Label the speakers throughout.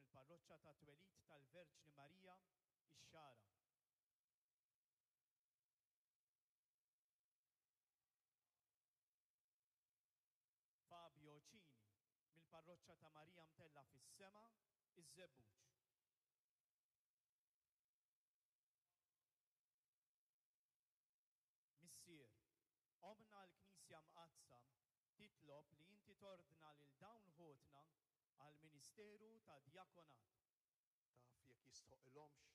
Speaker 1: mill-Parroċċa tat-Twelid tal-Verġni Marija, ix-Xagħra. Fabio Cini, mill-Parroċċa ta' Marija Mtellgħa fis-Sema, iż-Żebbuġ. Missier, Ommna l-Knisja Mqaddsa titlob li inti tordna lil dawn ħutna għall-ministeru tad-djakonat.
Speaker 2: Taf jekk jistħoqqilhomx?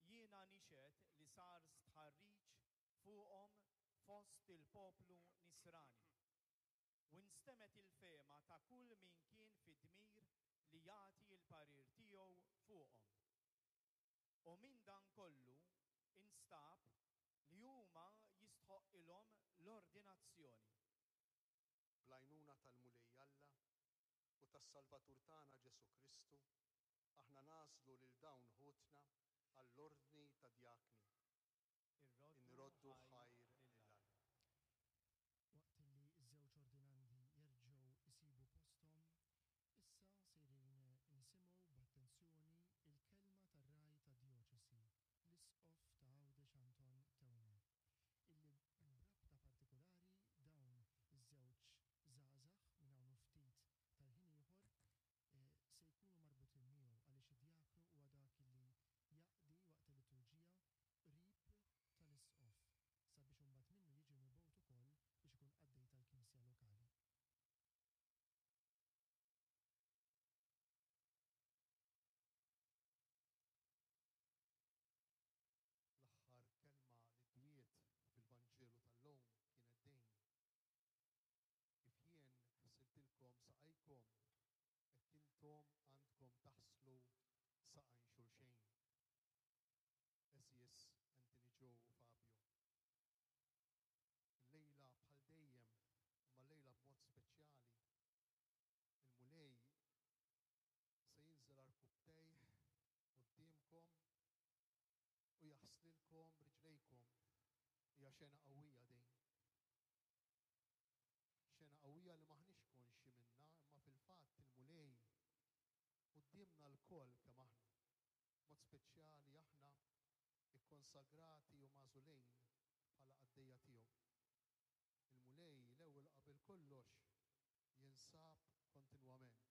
Speaker 1: Jiena nixhed li sar stħarriġ fuqhom fost il-poplu Nisrani, u nstemgħet il-fehma ta' kull min kien fid-dmir li jagħti l-parir tiegħu fuqhom. U minn dan kollu instab li huma jistħoqqilhom l-ordinazzjoni.
Speaker 2: Bl-għajnuna tal-Mulej Alla u tas-Salvatur tagħna Ġesù Kristu, aħna nagħżlu lil dawn ħutna għall-ordni ta' djakni. Inroddu ħajr lil Alla.
Speaker 3: Waqt li ż-żewġ ordinandi jerġgħu jsibu posthom, issa sejrin nisimgħu b'attenzjoni l-kelma tar-Ragħaj tad-Djoċesi, l-Isqof ta' Għawdex Anton Teuma, illi b'rabta partikulari dawn iż-żewġ żgħażagħ minn hawn u ftit tal-ħin ieħor se jkunu marbutin miegħu għaliex id-djaknu huwa dak li jaqdi waqt il-liturġija qrib tal-Isqof sabiex imbagħad minnu jiġi mibgħut ukoll biex ikun qaddej tal-Knisja lokali.
Speaker 2: L-aħħar kelma li dwiet fil-Vanġelu tal-lum kienet din, Kif jien ħsiltilkom saqajkom, hekk intom għandkom taħslu saqajn xulxejn. Għeżież Anthony Joe u Fabio. Illejla bħal dejjem, imma llejla b'mod speċjali, il-Mulej se jinżel għarkupptejh quddiemkom u jaħslilkom riġlejkom. Hija xena qawwija din. Xena qawwija li m'aħniex konxji minnha, imma fil-fatt il-Mulej quddiemna lkoll kemm aħna, b'mod speċjali aħna kkonsagrati u magħżulin bħala qaddejja tiegħu. Il-Mulej l-ewwel u qabel kollox jinsab kontinwament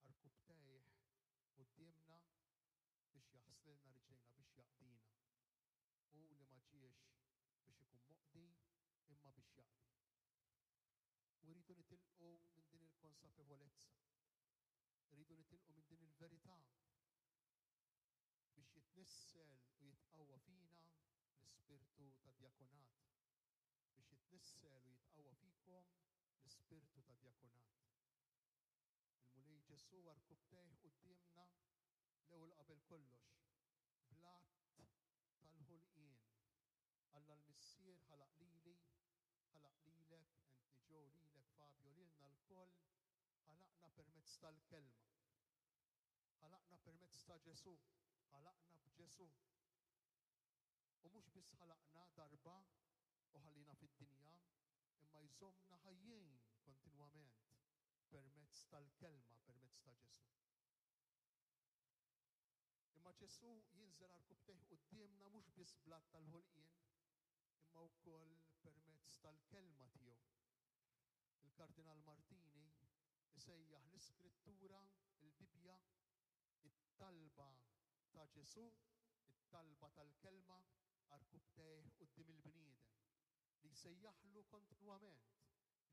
Speaker 2: għarkupptejh quddiemna biex jaħslilna riġlejna, biex jaqdina. Hu li ma ġiex biex ikun moqdi imma biex jaqdi. U rridu nitilqu minn din il-konsapevolezza. Irridu nitilqu minn din il-verità biex jitnissel u jitqawwa fina l-ispirtu tad-djakonat. Biex jitnissel u jitqawwa fikom l-ispirtu tad-djakonat. Il-Mulej Ġesù għarkupptejh quddiemna l-ewwel qabel kollox bl-att tal-ħolqien. Alla l-Missier ħalaq lili, ħalaq lilek, Anthony Joe, lilek Fabio, lilna lkoll, ħalaqna permezz tal-Kelma. Ħalaqna permezz ta' Ġesù, ħalaqna b'Ġesù. U mhux biss ħalaqna darba u ħalliena fid-dinja, imma jżommna ħajjin kontinwament permezz tal-Kelma, permezz ta' Ġesù. Imma Ġesù jinżel għarkupptejh quddiemna mhux biss bl-att tal-ħolqien, imma wkoll permezz tal-Kelma tiegħu. Il-Kardinal Martini jsejjaħ l-Iskrittura, il-Bibbja, It-talba ta' Ġesù, it-talba tal-Kelma, għarkupptejh quddiem il-bniedem, li jsejjaħlu kontinwament,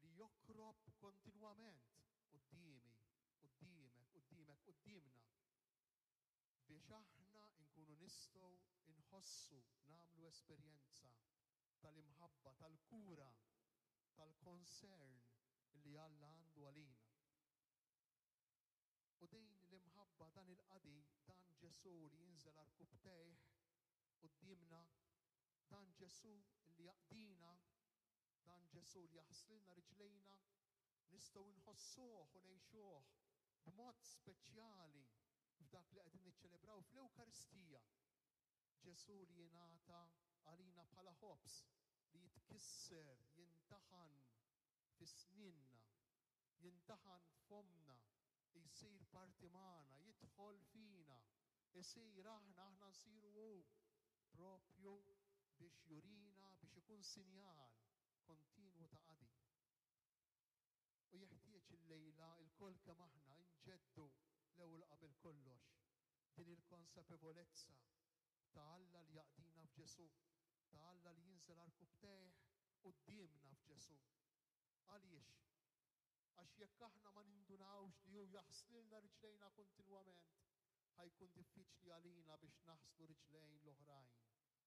Speaker 2: li jokrob kontinwament quddiemi, quddiemek, quddiemek, quddiemna, biex aħna nkunu nistgħu nħossu, nagħmlu esperjenza tal-imħabba, tal-kura, tal-concern li Alla għandu għalina. U din l-imħabba, dan il-qadi, dan Ġesù li jinżel għarkupptejh quddiemna, dan Ġesù li jaqdina, dan Ġesù li jaħslilna riġlejna, nistgħu nħossuh u ngħixuh b'mod speċjali f'dak li qegħdin niċċelebraw fl-Ewkaristija. Ġesù li jingħata għalina bħala ħobż li jitkisser, jintaħan fi snienna, jintaħan f'fommna. Jsir parti magħna, jidħol fina, isir aħna, aħna nsiru hu, propju biex jurina, biex ikun sinjal kontinwu ta' qadi. U jeħtieġ illejla lkoll kemm aħna nġeddu l-ewwel u qabel kollox din il-konsapevolezza ta' Alla li jaqdina f'Ġesù, ta' Alla li jinżel għarkupptejh quddiemna f'Ġesù. Għaliex? Għax jekk aħna ma nindunawx li hu jaħslilna riġlejna kontinwament, ħa jkun diffiċli għalina biex naħslu riġlejn l-oħrajn,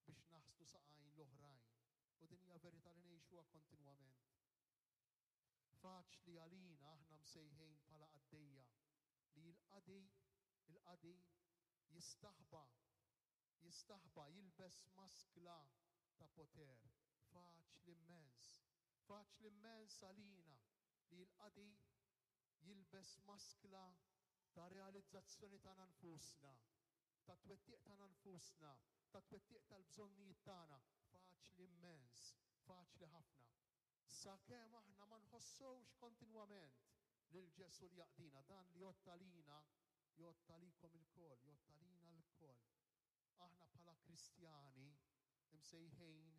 Speaker 2: biex naħslu saqajn l-oħrajn. U din hija verità li ngħixuha kontinwament. Faċli għalina aħna msejħin bħala qaddejja li l-qadi, il-qadi jistaħba, jistaħba, jilbes maskla ta' poter. Faċli immens, faċli immens għalina li l-qadi jilbes maskla ta' realizzazzjoni tagħna nfusna, ta' twettiq tagħna nfusna, ta' twettiq tal-bżonnijiet tagħna. Faċli immens, faċli ħafna. Sakemm aħna ma nħossux kontinwament lil Ġesù li jaqdina, dan li jgħodd għalina, jgħodd għalikom ilkoll, jgħodd għalina lkoll. Aħna bħala Kristjani msejħin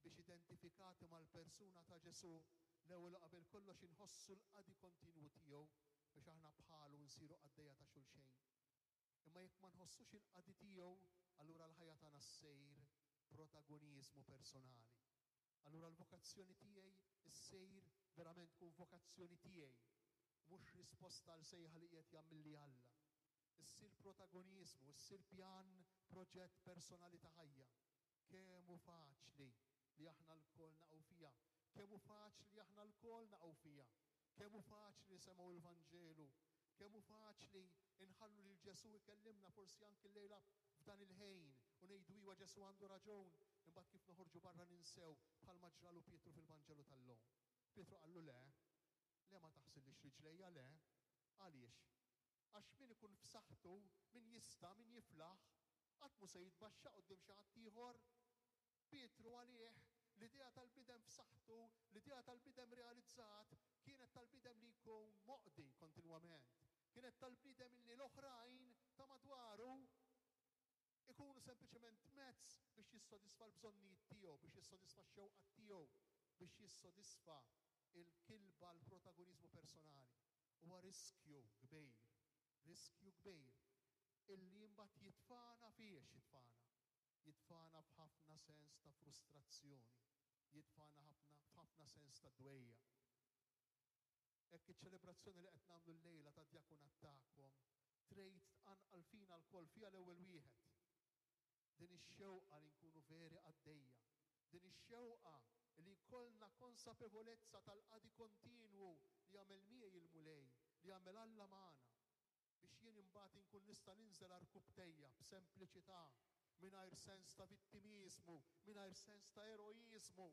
Speaker 2: biex identifikati mal-persuna ta' Ġesù, l-ewwel u qabel kollox inħossu l-qadi kontinwu tiegħu biex aħna bħalu nsiru qaddejja ta' xulxejn. Imma jekk ma nħossux il-qadi tiegħu, allura l-ħajja tagħna ssejr protagoniżmu personali. Allura l-vokazzjoni tiegħi ssejr verament tkun vokazzjoni tiegħi, mhux risposta għal sejħa li qiegħed jagħmilli Alla. Issir protagoniżmu, issir pjan, proġett personali ta' ħajja. Kemm hu faċli li aħna lkoll naqgħu fiha! Kemm hu faċli li aħna lkoll naqgħu fiha! Kemm hu faċli nisemgħu l-Vanġelu! Kemm hu faċli nħallu lil Ġesù jkellimna forsi anki llejla f'dan il-ħin u ngħidu iwa Ġesù għandu raġun, imbagħad kif noħorġu barra ninsew bħalma ġralu Pietru fil-Vanġelu tal-lum. Pietru qallu le, le ma taħsillix riġlejja le. Għaliex? Għax min ikun f'saħħtu, min jista', min jiflaħ, qatt mhu se jitbaxxa quddiem xi ħadd ieħor. Pietru għalih, l-idea tal-bniedem f'saħħtu, l-idea tal-bniedem realizzat, kienet tal-bniedem li jkun moqdi kontinwament. Kienet tal-bniedem illi l-oħrajn ta' madwaru ikunu sempliċement mezz biex jissodisfa l-bżonnijiet tiegħu, biex jissodisfa x-xewqat tiegħu, biex jissodisfa l-kilba għall-protagoniżmu personali. Huwa riskju kbir, riskju kbir illi imbagħad jitfagħna fiex jitfagħna? Jitfagħna f'ħafna sens ta' frustrazzjoni, jitfagħna ħafna f'ħafna sens ta' dwejjaq. Hekk iċ-ċelebrazzjoni li qed nagħmlu llejla tad-djakunat tagħkom trid tqanqal fina lkoll, fija l-ewwel wieħed, din ix-xewqa li nkunu veri qaddejja, din ix-xewqa li jkollna konsapevolezza tal-qadi kontinwu li jagħmel miegħi il-Mulej, li jagħmel Alla magħna, biex jien imbagħad inkun nista' ninżel għarkupptejja b'sempliċità, mingħajr sens ta' vittimiżmu, mingħajr sens ta' eroiżmu,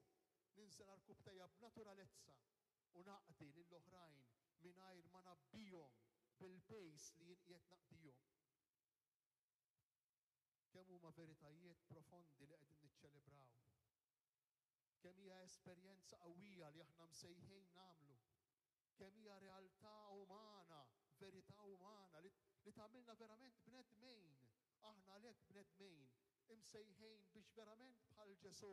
Speaker 2: ninżel għarkupptejja b'naturalezza u naqdi lill-oħrajn mingħajr ma ngħabbihom bil-piż li jien qiegħed naqdihom. Kemm huma veritajiet profondi li qegħdin niċċelebraw! Kemm hija esperjenza qawwija li aħna msejħin nagħmlu! Kemm hija realtà umana, verità umana li li tagħmilna verament bnedmin! Aħna għalhekk bnedmin, imsejħin biex verament bħal Ġesù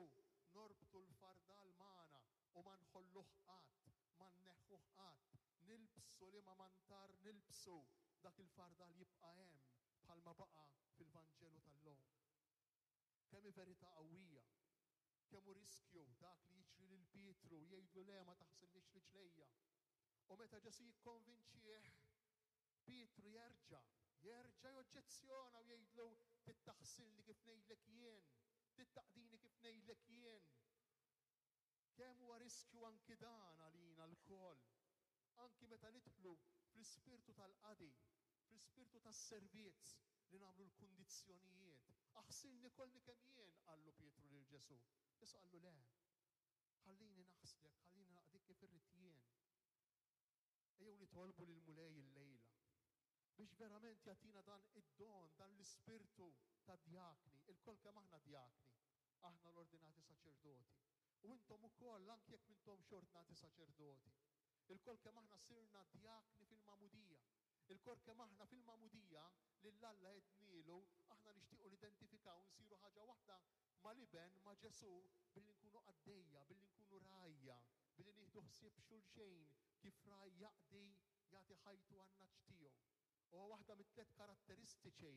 Speaker 2: norbtu l-fardal magħna u ma nħolluh qatt, ma nneħħuh qatt, nilbsu liema mantar nilbsu, dak il-fardal jibqa' hemm bħalma baqa' fil-Vanġelu tal-lum. Kemm hi verità qawwija! Kemm hu riskju dak li jiġri lil Pietru, jgħidlu le ma taħsilniex riġlejja. U meta Ġesù jikkonvinċih, Pietru jerġa', jerġa' joġġezzjona u jgħidlu trid taħsilni kif ngħidlek jien, trid taqdini kif ngħidlek jien. Kemm huwa riskju anki dan għalina lkoll, anki meta nidħlu fl-ispirtu tal-qadi, fl-ispirtu tas-servizz, li nagħmlu l-kundizzjonijiet. Aħsilni kollni kemm jien, qallu Pietru lil Ġesù. Ġesù qallu le, ħallini naħslek, ħallini naqdik kif irrid jien. Ejjew nitolbu lill-Mulej illejla biex verament jagħtina dan id-don, dan l-ispirtu ta' djakni. Ilkoll kemm aħna djakni, aħna l-ordinati saċerdoti. U intom ukoll, anki jekk m'intomx ordnati saċerdoti. Ilkoll kemm aħna sirna djakni fil-magħmudija. Ilkoll kemm aħna fil-magħmudija lil Alla għednielu aħna nixtiequ nidentifikaw, nsiru ħaġa waħda mal-Iben, ma' Ġesù, billi nkunu qaddejja, billi nkunu rgħajja, billi nieħdu ħsieb xulxejn kif ragħaj jaqdi, jagħti ħajtu għan-nagħaġ tiegħu. Huwa waħda mit-tliet karatteristiċi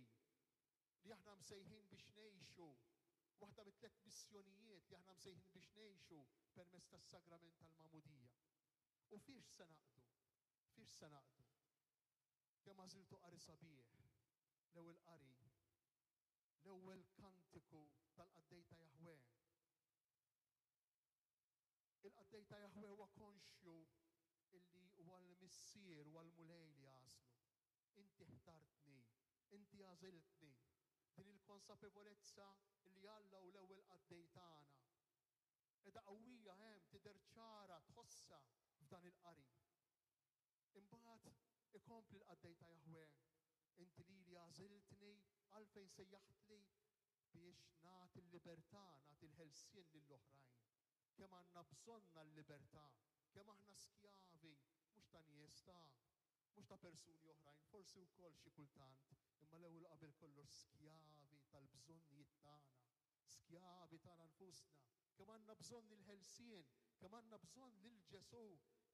Speaker 2: li aħna msejħin biex ngħixu, waħda mit-tliet missjonijiet li aħna msejħin biex ngħixu permezz tas-sagrament tal-magħmudija. U fiex se naqdu? Fiex se naqdu? Kemm għażiltu qari sabiħ, l-ewwel qari, l-ewwel kantiku tal-qaddej ta' Jahwè. Il-qaddej ta' Jahwè huwa konxju illi huwa l-Missier, huwa l-Mulej li għażlu. Inti ħtartni, inti għażiltni. Din il-konsapevolezza li Alla hu l-ewwel qaddej tagħna. Qiegħda qawwija hemm, tidher ċara, tħossha f'dan il-qari. Imbagħad ikompli l-qaddej ta' Jaħwè, Inti lili għażiltni, għalfejn sejjaħtli? Biex nagħti l-libertà, nagħti l-ħelsien lill-oħrajn. Kemm għandna bżonnha l-libertà, kemm aħna skjavi, mhux ta' nies, ta' mhux ta' persuni oħrajn, forsi wkoll xi kultant, imma l-ewwel u qabel kollox skjavi tal-bżonnijiet tagħna, skjavi tagħna nfusna. Kemm għandna bżonn il-ħelsien, kemm għandna bżonn lil Ġesù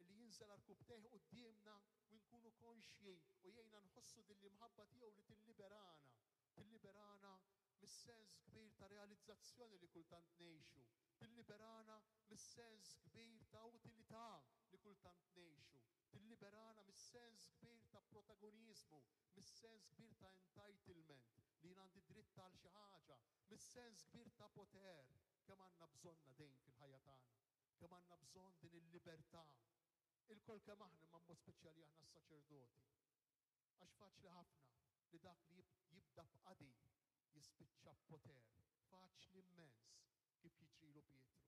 Speaker 2: li jinżel għarkupptejh quddiemna u nkunu konxji u jgħinna nħossu din l-imħabba tiegħu li tilliberana, tilliberana mis-sens kbir ta' realizzazzjoni li kultant ngħixu, tilliberana mis-sens kbir ta' utilità li kultant ngħixu, tilliberana mis-sens kbir ta' protagoniżmu, mis-sens kbir ta' entitlement, li jien għandi dritt għal xi ħaġa, mis-sens kbir ta' poter. Kemm għandna bżonnha din fil-ħajja tagħna! Kemm għandna bżonn din il-libertà! Ilkoll kemm aħna, imma b'mod speċjali aħna s-saċerdoti. Għax faċli ħafna li dak li jibda b'qadi jispiċċa b'poter. Faċli immens, kif jiġrilu Pietru.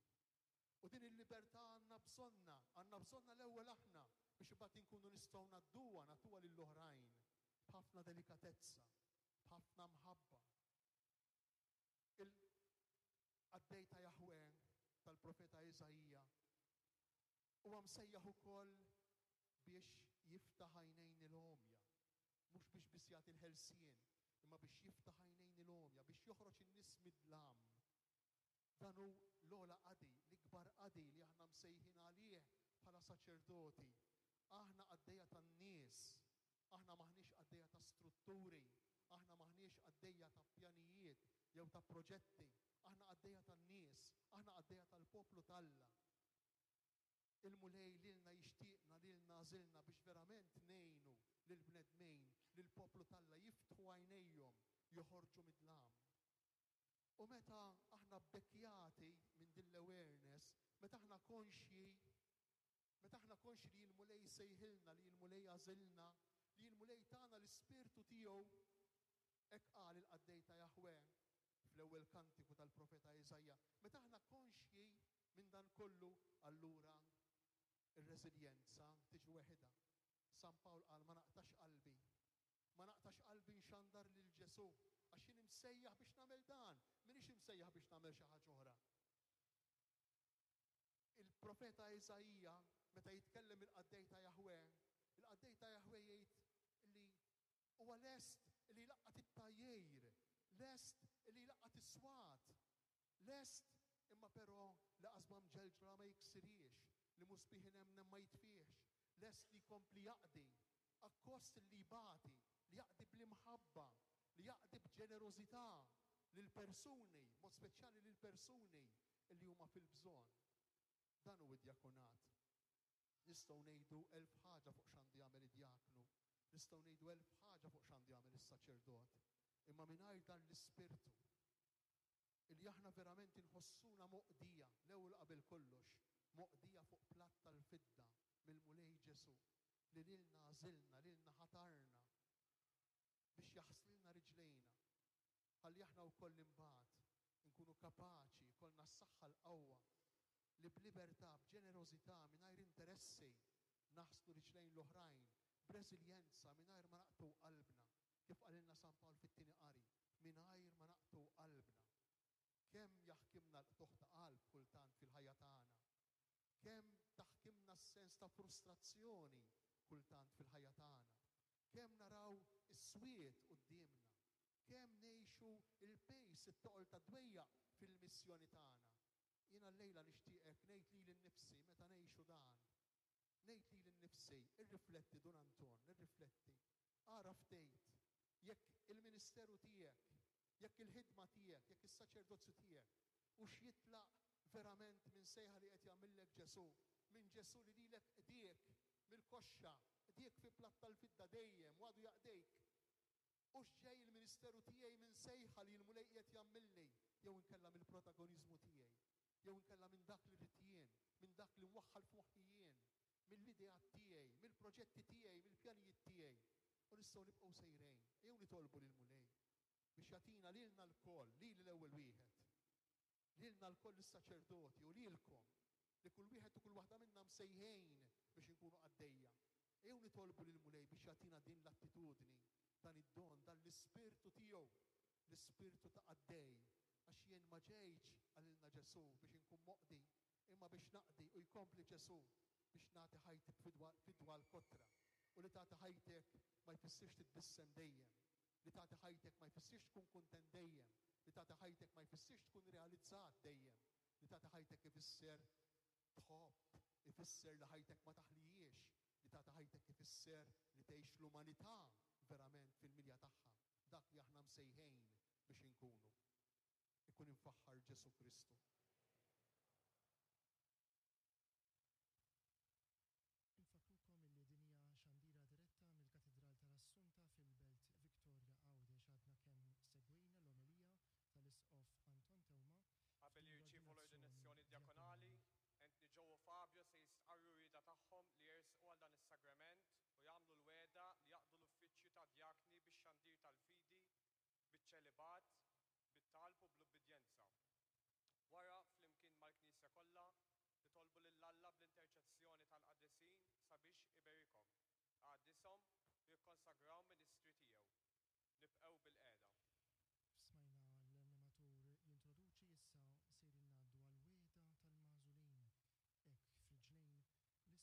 Speaker 2: U din il-libertà għandna bżonnha, għandna bżonnha l-ewwel aħna biex imbagħad inkunu nistgħu ngħadduha, nagħtuha lill-oħrajn b'ħafna delikatezza, b'ħafna mħabba. Il-qaddej ta' Jaħwè tal-profeta Iżaija huwa msejjaħ ukoll biex jiftaħ għajnejn il-għomja, mhux biex biss jagħti l-ħelsien, imma biex jiftaħ għajnejn il-għomja, biex joħroġ in-nies mid-dlam. Dan hu l-ogħla qadi, l-ikbar qadi li aħna msejħin għalih bħala saċerdoti. Aħna qaddejja tan-nies, aħna m'aħniex qaddejja ta' strutturi, aħna m'aħniex qaddejja ta' pjanijiet jew ta' proġetti, aħna qaddejja tan-nies, aħna qaddejja tal-poplu t'Alla. Il-Mulej lilna jixtieqna, lilna għażilna biex verament ngħinu lill-bnedmin, lill-poplu t'Alla jiftħu għajnejhom, joħorġu mid-dlam. U meta aħna bbekkjati minn din l-awareness, meta aħna konxji, meta aħna konxji li l-Mulej sejħilna, li l-Mulej għażilna, li l-Mulej tana l-Ispirtu tiegħu, hekk qal il-qaddej ta' Jaħwè fl-ewwel kantiku tal-profeta Iżaija, meta aħna konxji minn dan kollu, allura r-reżiljenza tiġi weħidha. San Pawl qal ma naqtax qalbi. Ma naqtax qalbi nxandar lil Ġesù, għax jien imsejjaħ biex nagħmel dan, m'iniex imsejjaħ biex nagħmel xi ħaġa oħra. Il-profeta Iżaija, meta jitkellem il-qaddej ta' Jaħwè, il-qaddej ta' Jaħwè jgħid li huwa lest li jlaqqat it-tgħajjir, lest li jlaqqat is-swat, lest imma però li qasba mġelġla ma jiksirhiex, li musbieħ inemnem ma jitfihx, lest li jkompli jaqdi akkost li jbati, li jaqdi bl-imħabba, li jaqdi b'ġenerożità lill-persuni, b'mod speċjali lill-persuni li huma fil-bżonn. Dan hu d-djakonat. Nistgħu ngħidu elf ħaġa fuq x'għandu jagħmel id-djaknu, nistgħu ngħidu elf ħaġa fuq x'għandu jagħmel is-saċerdot, imma mingħajr dan l-ispirtu, li aħna verament inħossuna moqdija, l-ewwel u qabel kollox, moqdija fuq platt tal-fidda mill-Mulej Ġesù, li lilna għażilna, lilna ħatarna biex jaħslilna riġlejna, ħalli aħna wkoll imbagħad inkunu kapaċi, jkollna s-saħħa l-qawwa li b'libertà, b'ġenerożità, mingħajr interessi, naħslu riġlejn l-oħrajn, b'reżiljenza, mingħajr ma naqtgħu qalbna, kif qalilna San Pawl fit-tieni qari, mingħajr ma naqtgħu qalbna. Kemm jaħkimna l-qtugħ ta' qalb kultant fil-ħajja tagħna! Kemm taħkimna s-sens ta' frustrazzjoni kultant fil-ħajja tagħna! Kemm naraw is-swied quddiemna, kemm ngħixu l-pejs, it-toqol tad-dwejjaq fil-missjoni tagħna. Jiena llejla nixtieqek ngħid lili nnifsi meta ngħixu dan, ngħid lili nnifsi, irrifletti Dun Anton, irrifletti, ara ftit jekk il-ministeru tiegħek, jekk il-ħidma tiegħek, jekk is-saċerdozju tiegħek hux jitlaq verament minn sejħa li qed jagħmillek Ġesù, minn Ġesù li lilek qdiek mill-koxxa, qdiek fi platt tal-fidda dejjem u għadu jaqdejk. Hux ġej il-ministeru tiegħi minn sejħa li l-Mulej qiegħed jagħmilli jew inkella mill-protagoniżmu tiegħi, jew inkella minn dak li rrid jien, minn dak li mwaħħal f'moħħi jien, mill-ideat tiegħi, mill-proġetti tiegħi, mill-pjanijiet tiegħi. U nistgħu nibqgħu sejrejn. Ejjew nitolbu lill-Mulej biex jagħtina lilna lkoll, lili l-ewwel wieħed, lilna lkoll is-saċerdoti u lilkom, li kull wieħed u kull waħda minna msejħin biex inkunu qaddejja. Ejjew nitolbu lill-Mulej biex jagħtina din l-attitudni, dan id-don, dan l-ispirtu tiegħu, l-ispirtu ta' qaddej. Għax jien ma ġejtx, qalilna Ġesù, biex inkun moqdi, imma biex naqdi, u jkompli Ġesù, biex nagħti ħajti b'fidwa fidwa għall-kotra. U li tagħti ħajtek ma jfissirx titbissem dejjem. Li tagħti ħajtek ma jfissirx tkun kuntent dejjem. Li tagħti ħajtek ma jfissirx tkun realizzat dejjem. Li tagħti ħajtek ifisser tħobb, ifisser li ħajtek ma taħlihiex. Li tagħti ħajtek ifisser li tgħix l-umanità verament fil-milja tagħha, dak li aħna msejħejn biex inkunu. Ikun imfaħħar Ġesù Kristu.
Speaker 3: Infakkrukom illi din hija xandira diretta mill-Katidral tal-Assunta fil-Belt Victoria Għawdex. Għadna kemm segwejna l-omelija tal-Isqof Anton Teuma
Speaker 4: Qabel
Speaker 3: f'din
Speaker 4: jirċievu
Speaker 3: l-ordinazzjoni
Speaker 4: l-ordinazzjoni djakonali,
Speaker 3: djakonali.
Speaker 4: Anthony Joe u Fabio se jistqarru r-rieda tagħhom li jersqu għal dan is-sagrament u jagħmlu l-wegħda li jaqdu l-uffiċċju ta' djakni bix-xandir tal-fidi, biċ-ċelibat, bit-talb u bl-ubbidjenza. Wara, flimkien mal-Knisja kollha, nitolbu lil Alla bl-interċessjoni tal-qaddisin sabiex iberikhom, iqaddishom u jikkonsagrahom ministri tiegħu. Nibqgħu bilqiegħda.
Speaker 3: Smajna l-animatur jintroduċi, issa sejrin ngħaddu għall-wegħda tal-magħżulin. Hekk f'riġlejn l-Isqof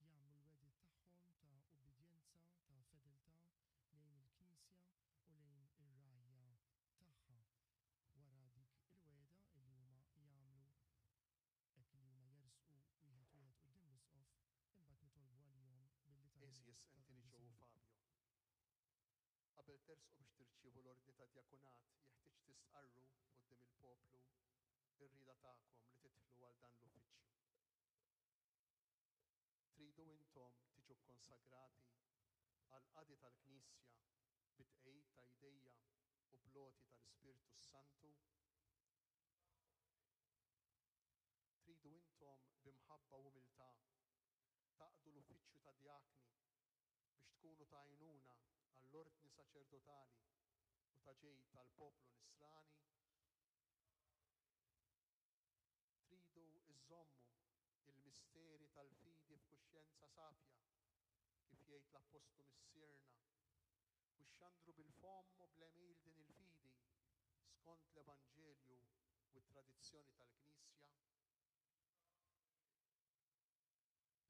Speaker 3: huma jagħmlu l-wegħdiet tagħhom ta' ubbidjenza, ta' fedeltà lejn il-Knisja u lejn ir-rgħajja tagħha. Wara dik il-wegħda illi huma jagħmlu, hekk li huma jersqu wieħed wieħed quddiem l-Isqof, imbagħad nitolbu għalihom bil-litanija
Speaker 2: Għeżież Anthony Joe u
Speaker 3: tal-qaddisin.
Speaker 2: Fabio. Qabel tersqu biex tirċievu l-ordni ta' djakunat, jeħtieġ tistqarru quddiem il-poplu r-rieda tagħkom li tidħlu għal dan l-uffiċċju. Tridu intom tiġu kkonsagrati għall-qadi tal-Knisja bit-tqegħid ta' jdejja u bl-għoti tal-Ispirtu s-Santu? Tridu intom b'imħabba u umiltà taqdu l-uffiċċju ta' djakni biex tkunu ta' għajnuna għall-ordni saċerdotali u ta' ġid tal-poplu nisrani? Tridu iżżommu il-misteri tal-fidi f'kuxjenza safja, kif jgħid l-Appostlu Missierna, u xxandru bil-fomm u bl-għemil din il-fidi skont l-Evanġelju u t-tradizzjoni tal-Knisja?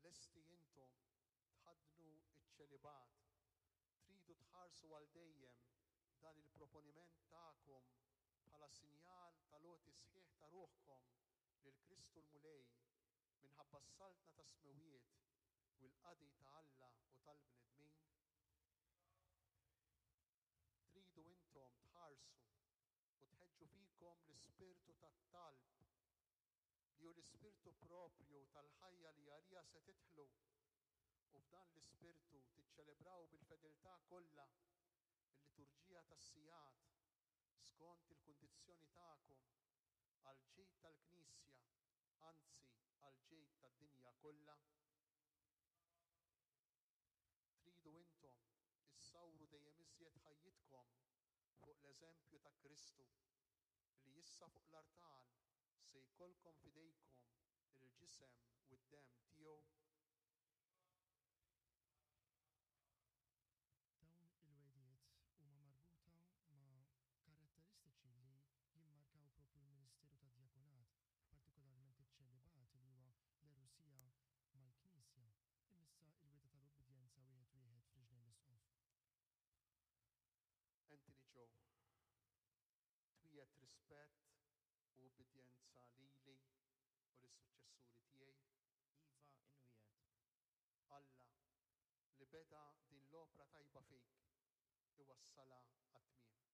Speaker 2: Lesti intom tħaddnu ċ-ċelibat, tridu tħarsu għal dejjem dan il-proponiment tagħkom bħala sinjal tal-għoti sħiħ ta' ruħkom lil Kristu l-Mulej minħabba s-saltna tas-smewwiet u l-qadi ta' Alla u tal-bnedmin? Tridu intom tħarsu u tħeġġu fikom l-ispirtu tat-talb, li hu l-ispirtu proprju tal-ħajja li għaliha se tidħlu, u f'dan l-ispirtu tiċċelebraw bil-fedeltà kollha l-liturġija tas-sigħat skont il-kundizzjoni tagħkom għall-ġid tal-Knisja, anzi għall-ġid tad-dinja kollha? Tridu intom issawru dejjem iżjed ħajjitkom fuq l-eżempju ta' Kristu, li issa fuq l-artal se jkollkom f'idejkom il-ġisem u d-demm tiegħu?
Speaker 3: Dawn il-wegħdiet huma marbuta ma' karatteristiċi li jimmarkaw propju l-ministeru tad-djakonat, partikolarment iċ-ċelibat li huwa l-erusija mal-Knisja. Imma issa il-wegħda tal-ubbidjenza wieħed wieħed f'riġlejn.
Speaker 2: rispett u ubbidjenza lili u lis-suċċessuri tiegħi?
Speaker 1: Iva, inwiegħed.
Speaker 2: Alla, li beda din l-opra tajba fik, iwassalha għat-tmiem.